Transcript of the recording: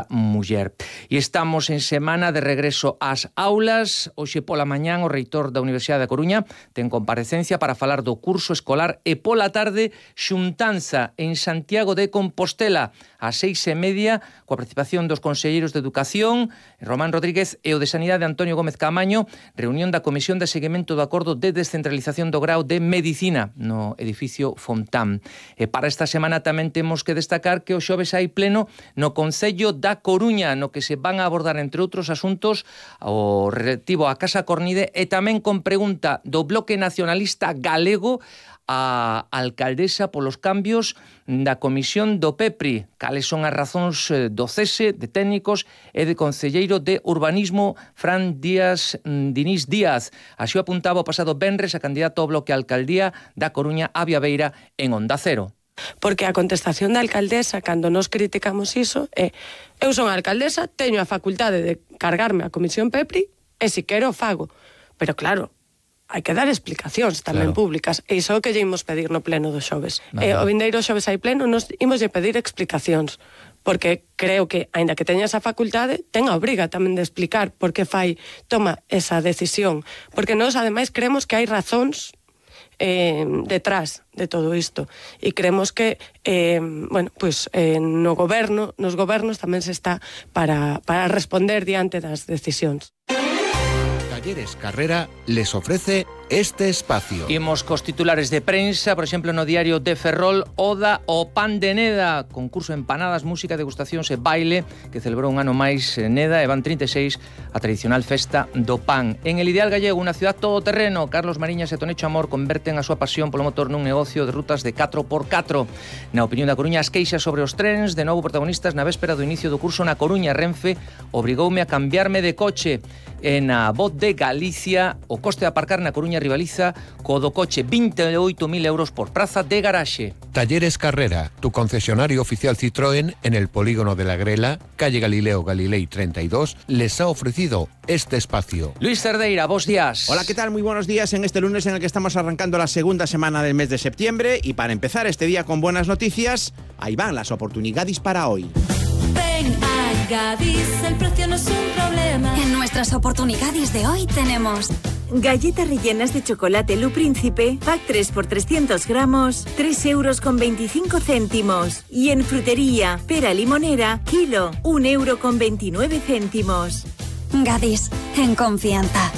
muller. E estamos en semana de regreso ás aulas. Hoxe pola mañán o reitor da Universidade da Coruña ten comparecencia para falar do curso escolar e pola tarde xuntanza en Santiago de Compostela ás 6:30 coa participación dos conselleiros de Educación Román Rodríguez e o de Sanidade Antonio Gómez Caamaño, reunión da Comisión de Seguimento do Acordo de Descentralización do Grao de Medicina no edificio Fontán. E para esta semana tamén temos que destacar que o xoves hai pleno no Concello da Coruña, no que se van a abordar, entre outros asuntos, o relativo á Casa Cornide e tamén con pregunta do Bloque Nacionalista Galego a alcaldesa polos cambios da comisión do PEPRI. Cales son as razóns do cese de técnicos e de concelleiro de Urbanismo Fran Diniz Díaz. Así o apuntaba o pasado venres a candidato ao Bloque a Alcaldía da Coruña, Avia Beira, en Onda Cero. Porque a contestación da alcaldesa, cando nos criticamos iso, é: eu son a alcaldesa, teño a facultade de cargarme a comisión PEPRI e si quero fago. Pero claro, hai que dar explicacións tamén públicas, e iso é o que lle imos pedir no pleno do xoves. O vindeiro xoves hai pleno, nos imos lle pedir explicacións, porque creo que, aínda que teña esa facultade, ten a obriga tamén de explicar por que toma esa decisión, porque nós ademais creemos que hai razóns detrás de todo isto, e creemos que nos gobernos tamén se está para responder diante das decisións. Talleres Carrera les ofrece este espacio. Imos cos titulares de prensa, por exemplo, no diario de Ferrol, Oda ao Pan de Neda, concurso empanadas, música, degustacións e baile, que celebrou un ano máis Neda, e van 36 a tradicional festa do pan. En el ideal gallego, unha ciudad todoterreno, Carlos Mariñas e Tonecho Amor converten a súa pasión polo motor nun negocio de rutas de 4x4. Na opinión da Coruña, as queixas sobre os trens, de novo protagonistas na véspera do inicio do curso na Coruña. Renfe obrigoume a cambiarme de coche. E na Voz de Galicia, o coste de aparcar na Coruña rivaliza co do coche, 28.000 euros por praza de garaxe. Talleres Carrera, tu concesionario oficial Citroën en el polígono de la Grela, calle Galileo Galilei 32, les ha ofrecido este espacio. Luis Cerdeira, bos días. Hola, ¿qué tal? Muy buenos días en este lunes en el que estamos arrancando la segunda semana del mes de septiembre, y para empezar este día con buenas noticias, ahí van las oportunidades para hoy. Ven a Gadis, el precio no es un problema. En nuestras oportunidades de hoy tenemos galletas rellenas de chocolate Lu Príncipe, pack 3 por 300 gramos, 3,25 €. Y en frutería, pera limonera, kilo, 1,29 €. Gadis, en confianza.